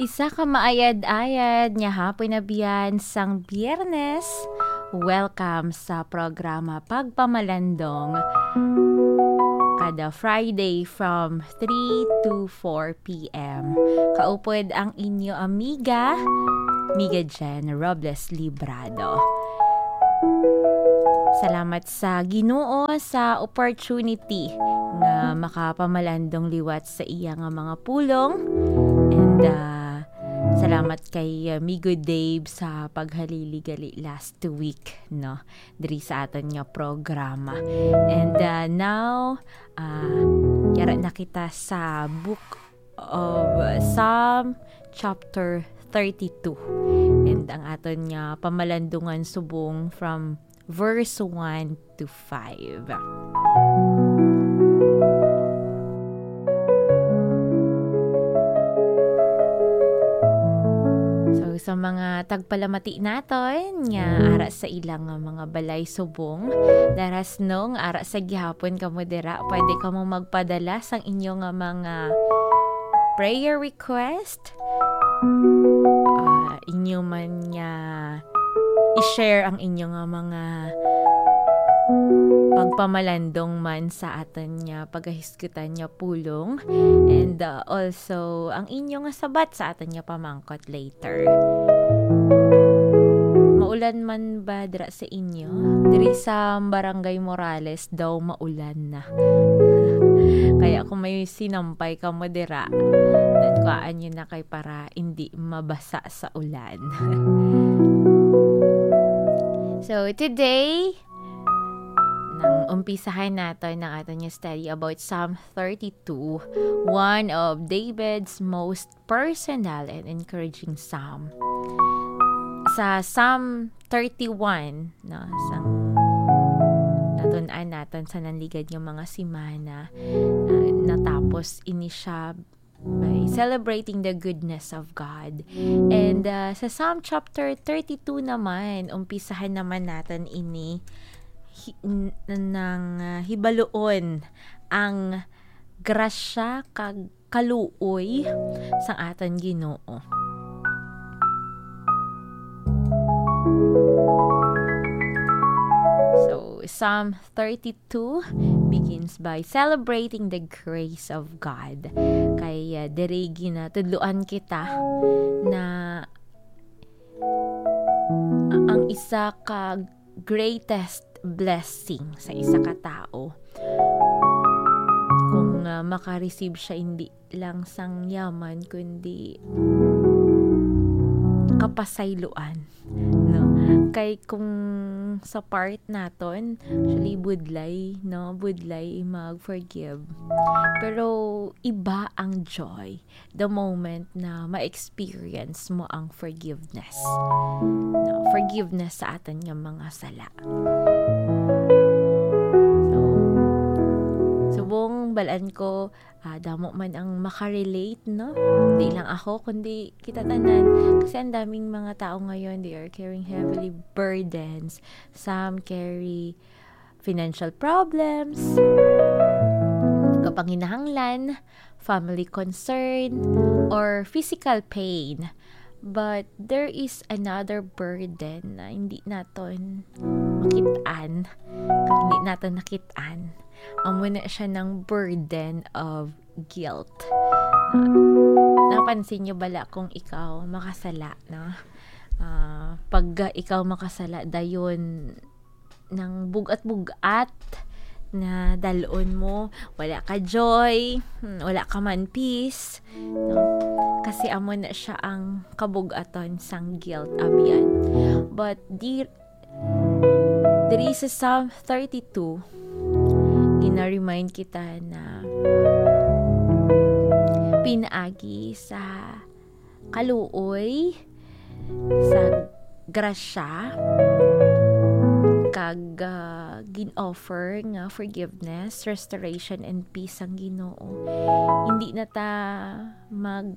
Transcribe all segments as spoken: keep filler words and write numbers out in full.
Isa ka maayad-ayad nga hapon na biyan sang Biyernes. Welcome sa programa Pagpamalandong, kada Friday from three to four p m. Kaupod ang inyo amiga, Miga Jen Robles Librado. Salamat sa Ginoo sa opportunity nga makapamalandong liwat sa iya nga mga pulong. And, ah, salamat kay, ah, Migo Dave sa paghalili gali last week, no, diri sa aton nga programa. And, ah, now, ah, yara na kita sa book of Psalm chapter thirty-two. And ang aton nga pamalandungan subong from verse one to five. So, sa mga tagpalamati naton nga ara sa ilang nga mga balay subong, darasnong ara sa gihapon kamo dira, pwede kamo magpadala sang inyo nga mga prayer request. Ah, inyo man nga i-share ang inyo nga mga pagpamalandong man sa aton nga pagahisgutan nga pulong. And, ah, also, ang inyo nga sabat sa aton nga pamangkot later. Maulan man ba dira sa inyo? Diri sa Barangay Morales daw maulan na. Kaya kung may sinampay kamo dira, nagkuhaan nyo na kay para hindi mabasa sa ulan. So, today, nang umpisahan naton ang aton nga study about Psalm thirty-two, one of David's most personal and encouraging psalm. Sa Psalm thirty-one, no, sang natun-an naton sa nanligad nga mga semana, ah, natapos ini siya by celebrating the goodness of God. And, ah, sa Psalm chapter thirty-two naman, umpisahan naman naton ini hi-, n-, nang, ah, hibaluon ang grasya kag kaluoy sang aton Ginoo. So, Psalm thirty-two begins by celebrating the grace of God. Kay, ah, diri ginatudloan kita na ang isa ka greatest blessing sa isa ka tawo kung, ah, maka-receive siya hindi lang sang yaman, kundi kapasayloan, no? Kay kung sa part naton, actually, budlay, no? Budlay mag-forgive. Pero iba ang joy the moment na ma-experience mo ang forgiveness. No? Forgiveness sa aton nga mga sala. So, subong balan ko, ah, damo man ang makarelate, no? Di lang ako, kundi kita tanan. Kasi ang daming mga tao ngayon, they are carrying heavily burdens. Some carry financial problems, kapanginahanglan, family concern, or physical pain. But there is another burden na hindi naton makit-an, hindi naton nakit-an. Amo na siya ng burden of guilt. Na-, napansin nyo bala kung ikaw makasala, no? Ah, pag ikaw makasala, dayon nang bug-at-bug-at na dalon mo, wala ka joy, hmm, wala ka man peace, no? Kasi amo na siya ang kabug-aton sang guilt, abyan. But di, diri sa Psalm thirty-two, gina-remind kita na pinaagi sa kaluoy, sa grasya, kag, ah, gin-offer nga forgiveness, restoration, and peace ang Ginoo. Hindi na ta mag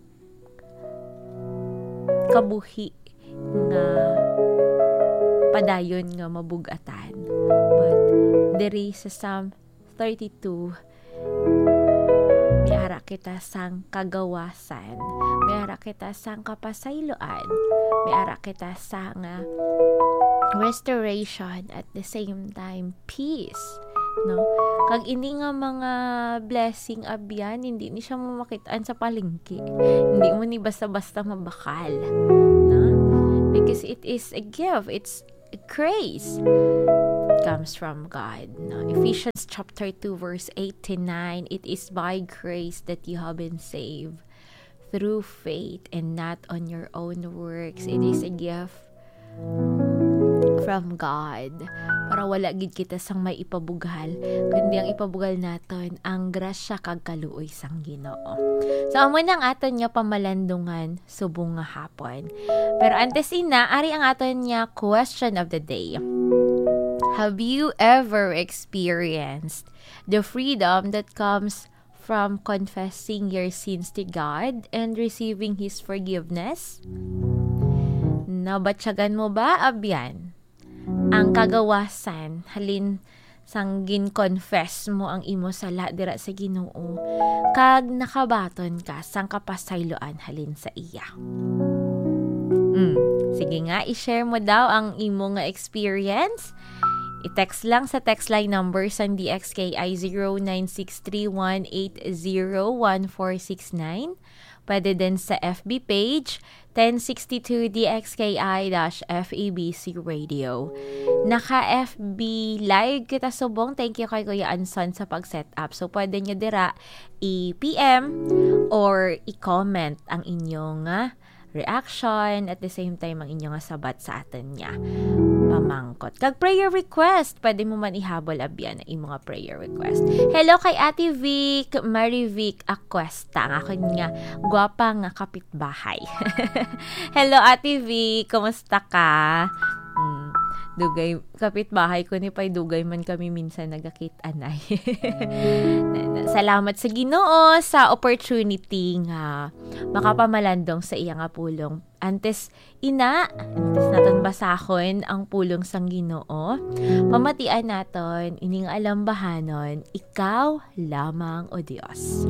kabuhi nga padayon nga mabug-atan. But diri sa Psalm thirty-two, may ara kita sang kagawasan, may ara kita sang kapasayloan, may ara kita sang, ah, restoration, at the same time, peace. No? Kag ini nga mga blessing, abyan, hindi ni siya mamakit-an sa palengke. Hindi mo ni basta-basta mabakal. No? Because it is a gift. It's a grace. It comes from God. No? Ephesians chapter two, verse eight to nine, "It is by grace that you have been saved through faith and not on your own works. It is a gift from God." Para wala gid kita sang may ipabugal, kundi ang ipabugal naton ang grasya kag kaluoy sang Ginoo. So, amo na ang aton nga pamalandungan subong nga hapon. Pero antes ina, ari ang aton nga question of the day. Have you ever experienced the freedom that comes from confessing your sins to God and receiving His forgiveness? Nabatyagan mo ba, abyan, ang kagawasan halin sang gin-confess mo ang imo sala dira sa Ginoo, kag nakabaton ka sang kapasayloan halin sa iya? Mm. Sige nga, i-share mo daw ang imo nga experience. I-text lang sa text line number sang D X K I, zero nine six three one eight zero one four six nine. Pwede din sa F B page, ten sixty-two D X K I dash F E B C Radio. Naka F B Live kita subong. Thank you kay Kuya Anson sa pag-set up. So, pwede nyo dira i-P M or i-comment ang inyong, ah, reaction, at the same time ang inyong sabat sa aton nga pamangkot. Kag prayer request, pwede mo man ihabol, abyan, ang imo nga prayer request. Hello kay Ate Vic, Marie Vic Acuesta, ang akon nga gwapa nga kapitbahay. Hello, Ate Vic, kumusta ka? Hmm, dugay, kapitbahay ko ni Pay, dugay man kami minsan nagakit-anay. Na- na- Salamat sa Ginoo sa opportunity nga makapamalandong sa iya nga pulong. Antes ina, antes naton basahon ang pulong sang Ginoo, pamatian naton ini nga alambahanon, "Ikaw lamang, O Dios."